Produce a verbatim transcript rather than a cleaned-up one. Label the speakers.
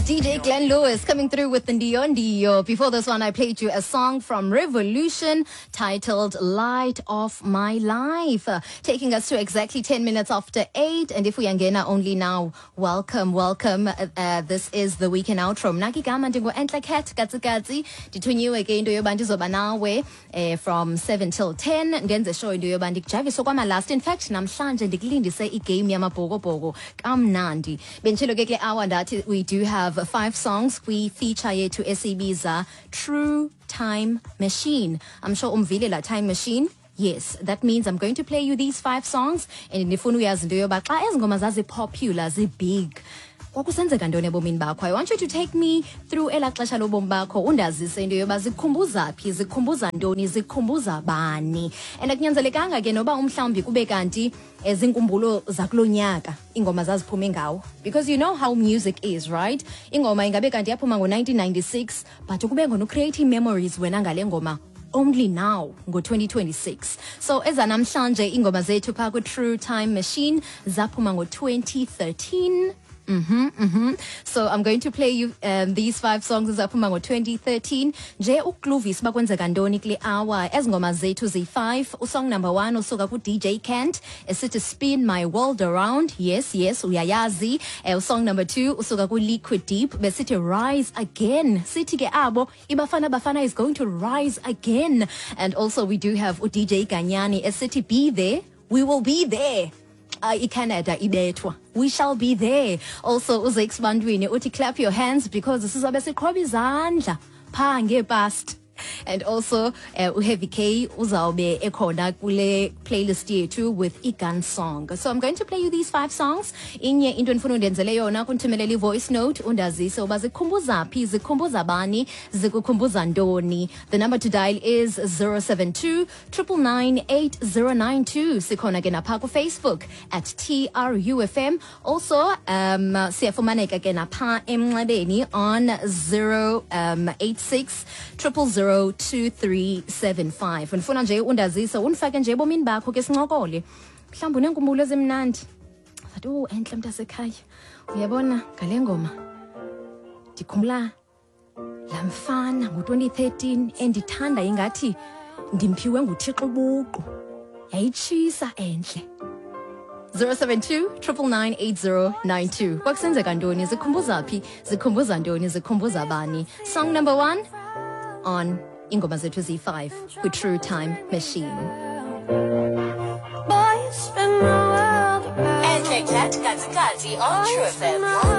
Speaker 1: D J Glenn Lewis coming through with the Ndio Ndio. Before this one, I played you a song from Revolution titled "Light of My Life," uh, taking us to exactly ten minutes after eight. And if we angena only now, welcome, welcome. Uh, uh, this is the weekend outro. Mna ke igama ndingu-Entle Cat Katsikatsi. Ndithunyiwe ke into yoba ndizoba nawe eh, from seven till ten. Ndenze sure into yoba ndikujavise okwamalast. In fact, namhlanje ndikulindise igame yamabhokobhoko kamnandi. Benditshilo ke kule hour ndathi we do have five songs kwi-feature yethu esiyibiza True Time Machine. I'm sure umvile la time machine. Yes, that means I'm going to play you these five songs and ndifuna uyazi into yoba xa ezi ngoma zazipopular, zibig, kwakusenzeka ntoni ebomini bakho. I want you to take me through elaa xesha lobomi bakho, undazise into yoba zikukhumbuza phi, zikukhumbuza ntoni, zikukhumbuza bani. And akunyanzelekanga ke noba umhlawumbi kube kanti eh, ziinkumbulo zakulo nyaka iingoma zaziphume ngawo, because you know how music is, right? Ingoma ingabe kanti yaphuma ngo-nineteen ninety-six, but kube ngona ucreate memories wena ngale ngoma only now ngo-twenty twenty-six. So ezanamhlanje iingoma zethu phaa kwi-True Time Machine zaphuma ngo-twenty thirteen. Mhm, mhm. So I'm going to play you um, these five songs ezaphuma ngo-twenty thirteen nje ukukluvisa uba kwenzeka ntoni kule hour. Ezi ngoma zethu ziyi-five. Usong number one usuka ku-D J Kent esithi "Spin My World Around." Yes, yes, uyayazi. Uh, song number two usuka ku-Liquid Deep besithi "Rise Again." Sithi ke abo iBafana Bafana is going to rise again. And also we do have u-D J Ganyani esithi "Be There." We will be there. uh, iCanada ibethwa, we shall be there. Also uZakes Bantwini uthi "Clap Your Hands," because sizobe siqhoba izandla phaa ngepast. And also uh, uHeavy K uzawube ekhona kule playlist yethu with iGun Song. So I'm going to play you these five songs. Inye into endifuna undenzele yona kundithumelela i-voice note, undazise uba zikukhumbuza phi, zikukhumbuza bani, zikukhumbuza ntoni. The number to dial is zero seven two nine nine nine eight zero nine two. Sikhona ke napha kuFacebook at T R U F M. Also um siyafumaneka ke napha emnxebeni on zero eight six zero zero zero two three seven five. Ndifuna nje undazise, undifake nje ebomini bakho ke, sincokole. Mhlawumbi uneenkumbulo ezimnandi, sathi, "Oh, entle mntasekhaya, uyabona ngale ngoma ndikhumbula laa mfana ngo-twenty thirteen endithanda ingathi ndimphiwe nguThixo ubuqu, yayitshisa entle." zero seven two nine nine nine eight zero nine two. Kwakusenzeka ntoni? Zikhumbuza phi? Zikhumbuza ntoni? Zikhumbuza bani? Song number one on ingoma zethu ziyi-five kwi-True Time Machine.
Speaker 2: Boy, you spin my world around.
Speaker 3: Entle Cat Katsikatsi on True F M.